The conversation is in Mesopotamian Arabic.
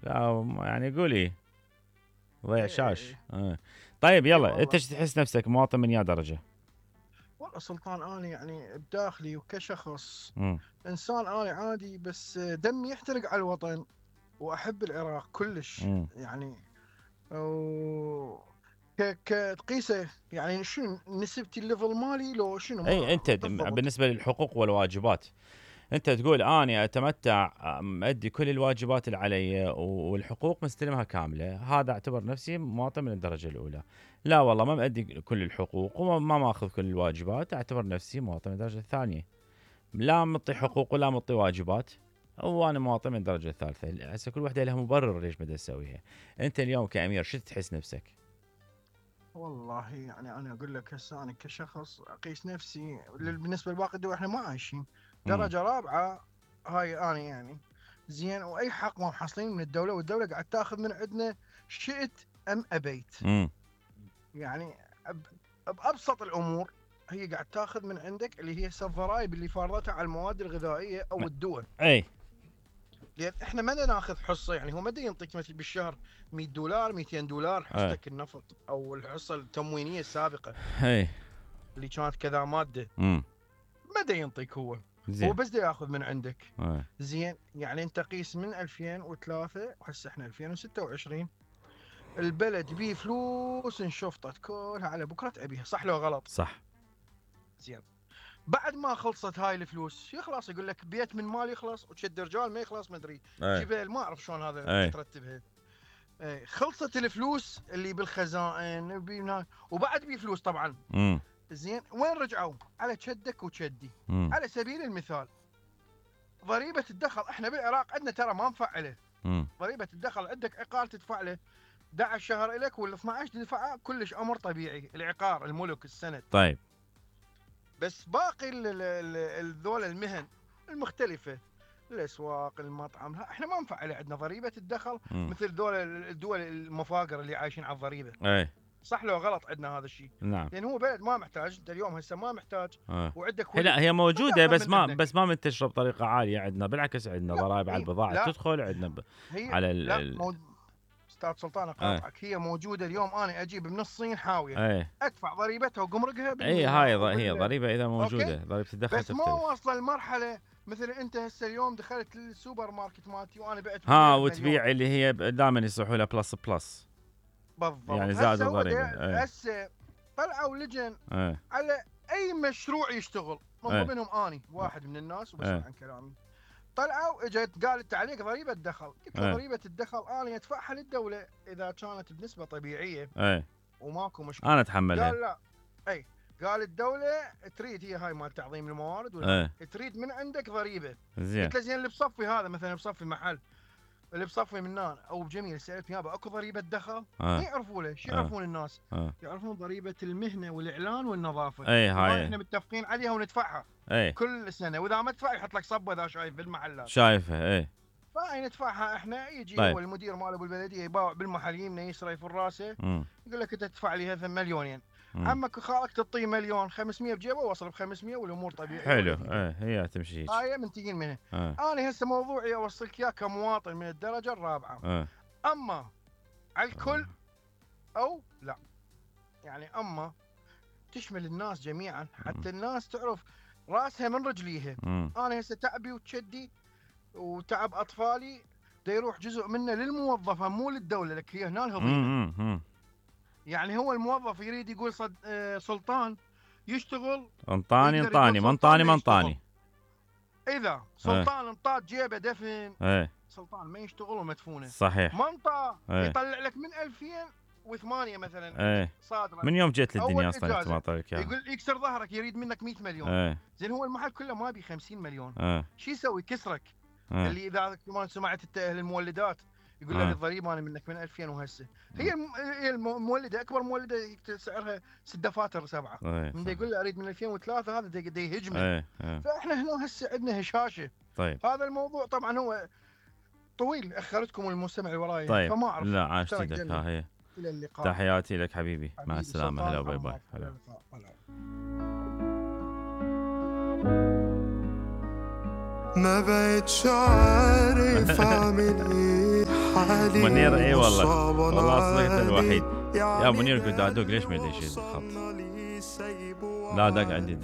لا يعني قولي ضيع شاش. طيب إي يلا والله. انت ايش تحس نفسك مواطن من يا درجة؟ والله سلطان، انا يعني بداخلي وكشخص مم. انسان انا عادي، بس دمي يحترق على الوطن واحب العراق كلش مم. يعني. و تقيسه يعني شنو نسبتي الليفل مالي لو شنو اي ما انت بالضبط. بالنسبة للحقوق والواجبات، انت تقول اني اتمتع ادي كل الواجبات اللي علي والحقوق مستلمها كامله، هذا اعتبر نفسي مواطن من الدرجه الاولى. لا والله ما مادي كل الحقوق وما ماخذ كل الواجبات، اعتبر نفسي مواطن من الدرجه الثانيه. لا مطي حقوق ولا مطي واجبات، وانا مواطن من الدرجه الثالثه. هسه كل وحده لها مبرر ليش بدها تسويها. انت اليوم كامير شو تحس نفسك؟ والله يعني انا اقول لك هسه انا كشخص اقيس نفسي بالنسبه لباقي الدول، احنا ما عايشين امم درجه رابعه. هاي انا يعني زين، واي حق ما محصلين من الدوله، والدوله قاعد تاخذ من عندنا شئت ام ابيت. امم يعني بابسط الامور هي قاعد تاخذ من عندك اللي هي الضرائب اللي فارضتها على المواد الغذائيه او الدول. اي لان احنا ما ناخذ حصه، يعني هو ما ينطيك مثل بالشهر $100 $200 اي حصتك النفط او الحصه التموينيه السابقه اي اللي كانت كذا ماده. امم ما ينطيك هو زين بس ياخذ من عندك. اي زين، يعني انت قيس من 2003 وهسه احنا 2026، البلد بيه فلوس انشفطت كلها على بكره ابيها، صح لو غلط؟ صح. زين، بعد ما خلصت هاي الفلوس يخلص يقول لك بيت من مال يخلص وشد رجال ما يخلص، ما ادري اي جبال، ما اعرف شلون هذا اي ايش ترتبها. خلصت الفلوس اللي بالخزائن وبعد بي فلوس طبعا. امم زين، وين رجعوا؟ على شدك وشدي. امم على سبيل المثال ضريبه الدخل، احنا بالعراق عندنا ترى ما مفعله ضريبه الدخل. عندك عقار تدفع له 11 شهر لك ولا 12 تدفعه، كلش امر طبيعي، العقار الملك السند. طيب بس باقي ذول المهن المختلفه، الاسواق، المطعم، احنا ما مفعله عندنا ضريبه الدخل مثل ذول الدول المفاقر اللي عايشين على الضريبه. اي صح لو غلط عندنا هذا الشيء؟ نعم. لان هو بلد ما محتاج، انت اليوم هسه ما محتاج وعندك لا ولد هي موجوده ياخذ بس من ما ابنك. بس ما منتشره بطريقه عاليه عندنا، بالعكس عندنا لا ضرائب على البضاعه لا تدخل عندنا هي على لا استاذ سلطان ايه اقاطعك، هي موجوده اليوم. انا اجيب من الصين حاويه ايه ادفع ضريبتها وقمرقها اي بالميناء هي ضريبه اذا موجوده، اوكي. ضريبه الدخل بس ما تختلف. واصله المرحله مثل انت هسه اليوم دخلت السوبر ماركت مالتي وانا بعت ها بمليون. وتبيع اللي هي دائما يصيحوا لها بلس بلس، بالضبط. يعني زائد هسه هو الضريبه. ايه هسه طلعوا لجن ايه على اي مشروع يشتغل، من ايه ضمنهم اني واحد من الناس وبسمع ايه عن كلامي. طلعوا اجت قالت عليك ضريبه دخل، قلت له ايه ضريبه الدخل انا ادفعها للدوله اذا كانت بنسبه طبيعيه ايه وماكو مشكله. انا اتحملها. قال لا، اي قال الدوله تريد، هي هاي مال تعظيم الموارد ولا ايه تريد من عندك ضريبه. زين قلت له زين اللي بصفي هذا مثلا بصفي محل، اللي بصفي منان او بجميل، سالت يابا اكو ضريبه دخل؟ ما يعرفوا له، شو يعرفون الناس؟ يعرفون ضريبه المهنه والاعلان والنظافه. اي وهاي هاي احنا متفقين عليها وندفعها اي كل سنه، واذا ما تدفع يحط لك صبه اذا شايف بالمحلات. شايفه اي. فهاي ندفعها احنا. يجي طيب. هو المدير ماله بالبلديه يباوع بالمحل، يمنى يسرى في راسه، يقول لك انت تدفع لي هذا مليونين. عمك وخالك تعطيه مليون 500 بجيبه ووصل ب500 والامور طبيعيه. حلو هي تمشي هيك. هاي منتجين منها. انا هسه موضوعي اوصلك اياه كمواطن من الدرجه الرابعه. اما على الكل او لا، يعني اما تشمل الناس جميعا، حتى الناس تعرف راسها من رجليها. انا هسه تعبي وتشدي وتعب اطفالي دا يروح جزء منه للموظفه مو للدوله، لك هي هنا الهضيمه. يعني هو الموظف يريد يقول سلطان يشتغل، انطاني ما انطاني. اذا سلطان انطاد جيبه دفن، سلطان ما يشتغل ومدفونه. صحيح. منطقه يطلع لك من 2008 مثلا صادره من يوم جيت للدنيا اصلا ما طلعك يقول يكسر ظهرك يريد منك 100 مليون. زين هو المحل كله ما بي 50 مليون. شو يسوي؟ كسرك. اللي اذا ما سمعت اهل المولدات يقول لك الضريبه انا منك من 2000 وهسه. هي المولده اكبر مولده سعرها 6 دفاتر 7. من يقول له اريد من 2003 هذا دا يهجمه. فاحنا هنا هسه عندنا هشاشه. طيب. هذا الموضوع طبعا هو طويل، اخرتكم المستمع وراي. طيب. فما اعرف. لا عاشت لك. ها هي. الى اللقاء. تحياتي لك حبيبي. مع السلامه. هلا باي باي. هلا. ما بقيت عارف اعمل ايه. منير اي والله، والله صدقت الوحيد. يا منير قلت ادوق ليش ما يدش الخط؟ لا دق عندي.